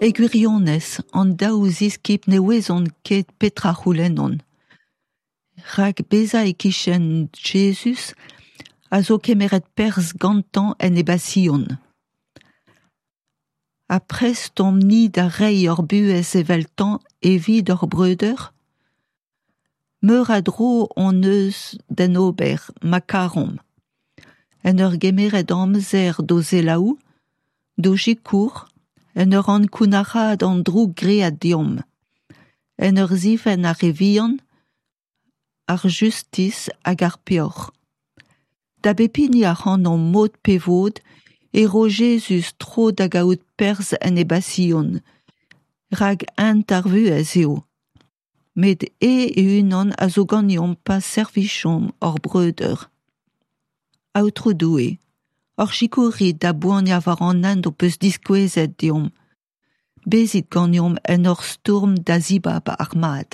E gwirionez, an daou ziskibl ne ouezont ket petra a c'houlennont. Rak bezañ e-kichen Jezuz a zo kemeret perzh gantañ en e basion. Ha prest omp-ni da reiñ hor buhez eveltañ evit hor breudeur ? Meur a dro hon eus d'en ober, ma karomp. En ur gemeret amzer d'o selaou, d'o sikour, en ur ankounac'haat an droug graet deomp. En ur zifenn ar re vihan, ar justis hag ar peoc'h. Da bep hini ac'hanomp mod pe vod e ro Jezuz tro da gaout perzh en e basion, rak hent ar vuhez eo. Met eñ e-unan a zo ganeomp pa servijomp hor breudeur. Aotrou Doue, hor sikourit da boaniañ war an hent ho peus diskouezet deomp. Bezit ganeomp en hor stourm da zibab ar mad.